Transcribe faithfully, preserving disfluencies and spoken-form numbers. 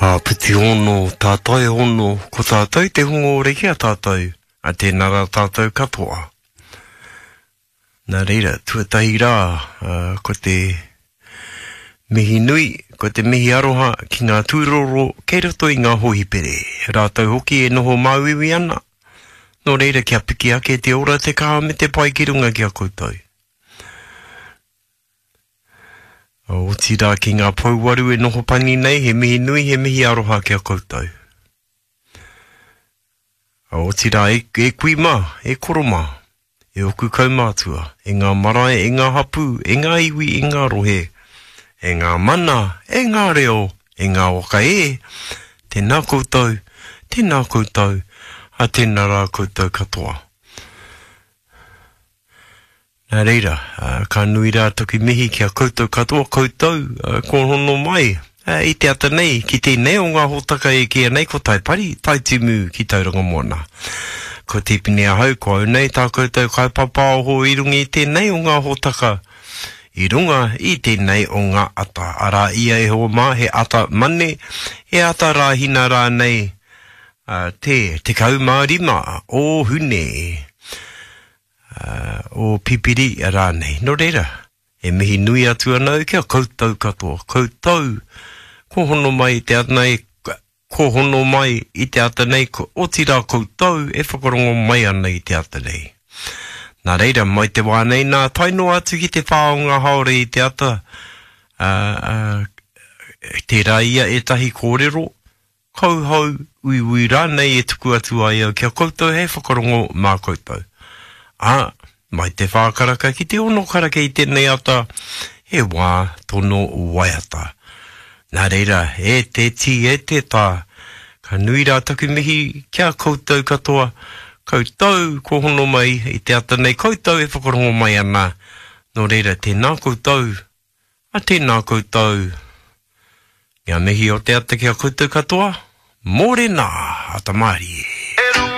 Āpiti hono, tātai hono, ko tātou te hunga ora ki a tātou, a tēnā rā tātou katoa. Nā reira, tuatahi rā, uh, ko te mihi nui, ko te mihi aroha ki ngā tūroro kei roto i ngā hohipere. Rātou hoki e noho māuiui ana. Nō reira kia piki ake te ora te kaha me te pai ki runga ki a koutou. Otirā ki ngā pouwaru e noho pani nei, he mihi nui, he mihi aroha ki a koutou. Otirā e, e kui mā, e koro mā, e oku kaumātua, e ngā marae, e ngā hapū, e ngā iwi, e ngā rohe, e ngā mana, e ngā reo, e ngā waka e, tēnā koutou, tēnā koutou, a tēnā rā koutou katoa. Nā reira, ka nui rā taku mihi ki a koutou katoa, koutou kua hono mai i te ata nei ki tēnei o ngā hōtaka e kīia nei ko Taipari, Taitimu ki Tauranga Moana. Ko Tipene ahau, ko au nei tā koutou kaipapaoho i runga i tēnei o ngā hōtaka, i runga i tēnei o ngā ata. Arā ia e hoa mā, he ata mane, he ata rāhina rānei, te tekau mā rima o Hune. Uh, o Pipiri rānei. Nō reira, e mihi nui atu ana au ki a koutou katoa. Koutou, ko hono mai i te ata nei, ko hono mai i te ata nei, ko otirā koutou e whakarongo mai ana i te ata nei. Nā reira, mai te wā nei nā, tae noa atu ki te whā o ngā haore i te ata, uh, uh, tērā ia ētahi kōrero, kauhau, uiui rānei e tuku atu ai au ki a koutou hei whakarongo mā koutou. Ā, mai te whā karaka ki te ono karaka i tēnei ata, he wā tono waiata. Nā reira, e te tī, e te tā, ka nui rā taku mihi ki a koutou katoa, koutou kua hono mai i te ata nei, koutou e whakarongo mai ana. Nō reira, tēnā koutou, a tēnā koutou. Ngā mihi o te ata ki a koutou katoa, mōrena, ata mārie.